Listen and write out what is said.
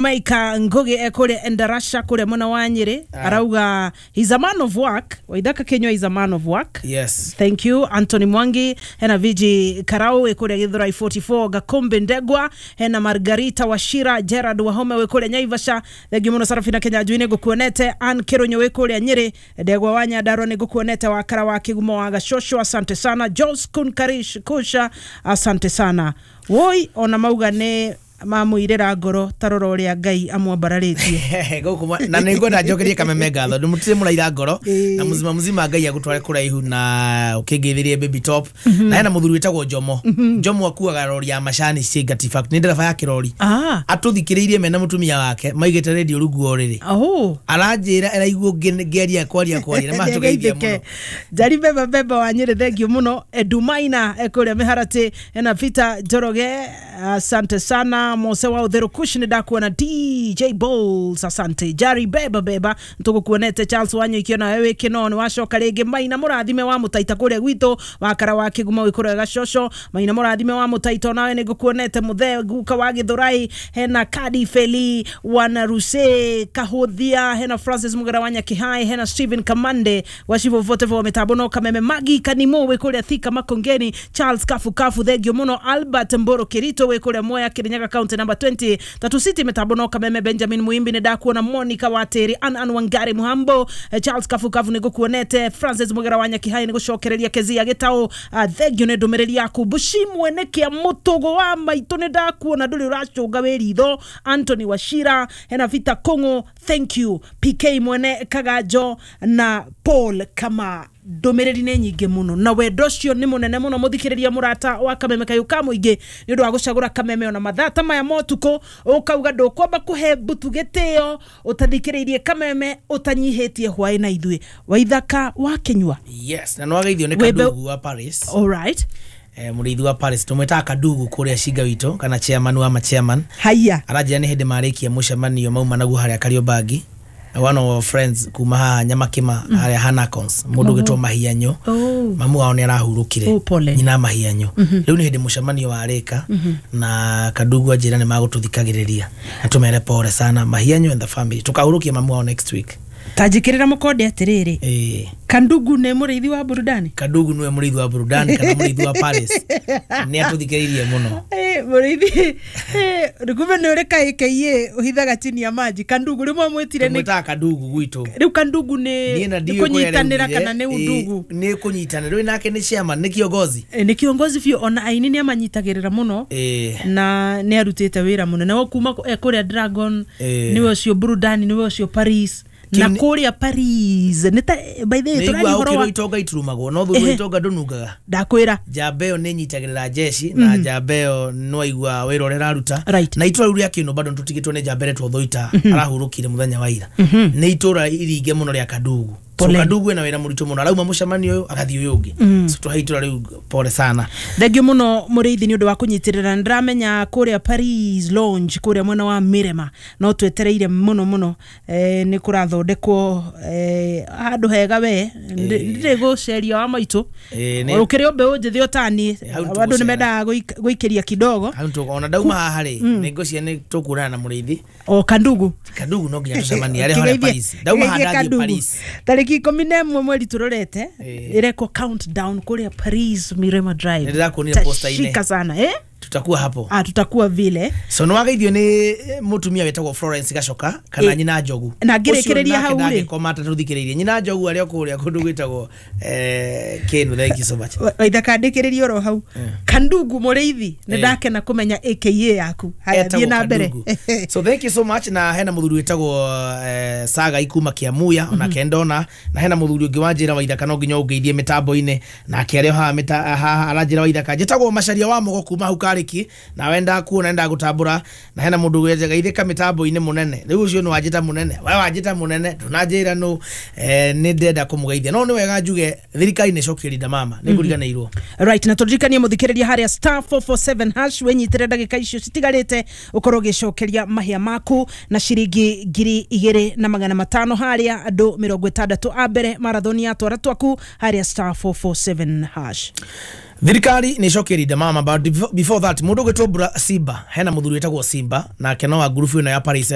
Maika Ngugi ekure Endarasha kure mwena wa Nyeri arauga he's a man of work. Waithaka Kinyua is a man of work. Yes. Thank you. Anthony Mwangi hena Viji Karau ekure Githurai 44 Gakombe Ndegwa hena Margarita Washira Gerard Wahome wekure Nyaivasha. Thank you muno Sarafina Kenya Juine gukuonete. Ann Kironyo wekure Nyeri Ndegwa wa Nyandarua ni gukuonete. Wakara wa Kigumo wa Gashosho asante sana. Jos Kunkarish Kusha asante sana. Woi ona mauga ne mamwirira ngoro tarora uria Ngai amwambararitie guku na nĩ ngwenda njokerie Kameme ngatho ndimutire mũraira ngoro na muzima muzima Ngai agutware kuraihu na ukingithirie baby top. Na hena muthuri witagwo Jomo. Jomo akuaga rori ya macani Cingati Factory, nĩ ndereba ya kirori. Atuthikiriirie mena mutumia wake maigite radio rungu o riri. Aranjira eraiguo ngeria kwaria kwaria na matugeithia muno. Njari beba beba wa Nyeri thank you muno. Edumaina ekuria Miharati ena Peter Njoroge asante sana. Mose wa Utheru Kush ni ndakuona. DJ Bowles asante. Jari beba beba ntugukuonete. Charles Wanyo ikiona wewe kino ni wacoka ringi. Maina murathime wa mutaita kuria gwitu wakara wa Kigumo wikura Gashosho. Maina murathime wa mutaita nawe ni ngukuonete. Muthe guka wa Githurai hena Kadi Feli wana Ruse Kahuthia hena Francis Mugara wa Nyakihai hena Steven Kamande wa Shivo vote vo mitambo no Kameme Magi Kanimo wikuria Thika Makongeni. Charles Kafu Kafu thengio muno. Albert Mboro Kirito wikuria Moya Kirinyaga County number 20 Tatu City mitambo no Kameme. Benjamin Muimbi ni ndakuona. Monica Wateri An Wangari Muhambo Charles Kafu Kafu ni gukuonete. Francis Mugera wa Nyakihai ni gucokereria Kezia Gitau thengio ni ndumiriri yaku. Bushi mwene kia mutugo wa maitu ni ndakuona nduri uracunga wi ritho. Anthony Washira hena Vita Kongo thank you. PK mwene Kagajo na Paul Kama. Ndumiriri nĩ nyingĩ mũno na wendo ũcio nĩ mũnene mũno mũthikĩrĩria mũrata wa Kameme kayũ ka mũingĩ nĩ ũndũ wa gũcagũra Kameme ona mathaa ta maya ma ũtukũ ũkauga ndũkwamba kũhe mbutu gĩtĩo ũtathikĩrĩirie Kameme ũtanyihĩtie hwaĩ na ithuĩ. Waithaka wa Kinyua. Yes, na nĩwageithio nĩ Kadugu wa Paris. All right. Mũrĩithi wa Paris tũmwĩtaga Kadugu kũrĩa Cinga witũ kana chairman wa ma chairman. Haya. Aranjĩra nĩ hĩndĩ marĩkia mũcemanio mauma naguo harĩa Kariobangi. One of our friends kuma haha Nyamakima haria Hanacons mundu gitwo Mahianyo. Mamu wao ni arahurukire nyina Mahianyo. Riu ni hindi mucemanio warika na Kadugu anjira ni magututhikagiriria na tumere pole sana Mahianyo and the family. Tukahurukia mamu wao next week. Tajikirira mukonde atiriri. Kandugu ni muriithi wa burudani. Kadugu niwe muriithi wa burudani kana muriithi wa Paris. Ni atuthikiririe muno. Muriithi kumbe ni uri KKA uhithaga chini ya maji. Kandugu rimwe mwitire ni mwitaga Kadugu gwitu. Riu Kandugu ni kunyitanira kana ni undugu? Ni kunyitanira. Riu nake ni chairman, ni kiongozi. Ni kiongozi biũ ona aini ni amanyitagirira muno na ni arutite wira muno. Na kuma kuria Dragon niwe ucio burudani niwe ucio Paris. Na kuria Paris nita by the way turari horo wa itonga iturumagwo no thutha itonga ndunungaga ndakwira njamba ĩyo nĩ nyitagĩrĩra jeshi na njamba ĩyo no aigua wĩra ũrĩa ĩraruta. Na itũra rĩu rĩa Kĩno bado nĩtũtigĩtwo nĩ njamba ĩretwo Thoita arahurũkire mũthenya wa ira. Nĩ itũra iringe mũno rĩa Kadugu. So Kadugu ena wĩra mũritũ mũno arauma mũcemanio ũyũ agathiĩ ũyũ ũngĩ. So tũhe itũra rĩu pole sana. Thengiũ mũno mũrĩithi nĩ ũndũ wa kũnyitĩrĩra. Ndĩramenya kũrĩa Paris Lounge kũrĩa mwena wa Mirema no twetereire mũno mũno nĩ kũrathondekwo handũ hega we ndirĩ gũceria wa maitũ ũkĩrĩ o mbeũ njĩthĩ o tani andũ nĩ mendaga gũikĩria kidogo. Ona ndauma haha rĩ nĩ ngũcia nĩ tũkuonana na mũrĩithi o Kandugu. Kadugu no nginya tũcemanie arĩa harĩa Paris. Ndauma haha ndathiĩ Paris tarĩki 11 mweri turorete irekwo countdown kuria Paris Mirema Drive. Nĩndĩrakuonire poster-inĩ. Shika sana Tutakuwa hapo. Tutakuwa vile. So nĩwageithio nĩ mutumia wetagwo Florence Gacoka kana nyina Njogu. Na ngĩrĩkĩrĩria hau rĩ. Ndangĩkoma atatũthikĩrĩirie. Nyina Njogu arĩa kũrĩa kũndũ gwĩtagwo Kĩnu. Thank you so much. Waithaka ndĩkĩrĩrie oro hau. Kandugu mũrĩithi nĩ ndakena kũmenya AKA yaku. Haya thiĩ na mbere. So thank you so much. Na hena mũthuri wĩtagwo Saga ikuma Kiamuya ona Kendona na hena mũthuri ũngĩ wanjĩra Waithaka no nginya ũngeithie mĩtambo-inĩ nake arĩa haha aranjĩra Waithaka njĩtagwo Macaria wa Mugo kuma hau Kariki na wenda kuona enda gutambura na hena mundu geithika mitambo-inĩ munene riu ucio ni wanjita munene we wanjita munene ndunanjira no ni ndenda kumugeithia no ni wega njuge thirikari ni cokia Linda Mama ni nguriganĩirwo. Right, na turirikanie muthikĩrĩria haria *447 hash wenyitire ndagĩka icio citigarĩte ukorwo ũgĩcokeria mahĩa maku na ciringi 2500 haria andũ 60 a mbere marathoni ya twara twaku haria *447 hash. Thirikari nä ĩcokie Linda Mama, but before that, mũndũ ũgwĩtwo Bura Simba, hena mũthuri wĩtagwo Simba, nake no wa ngurubu ĩno ya Paris.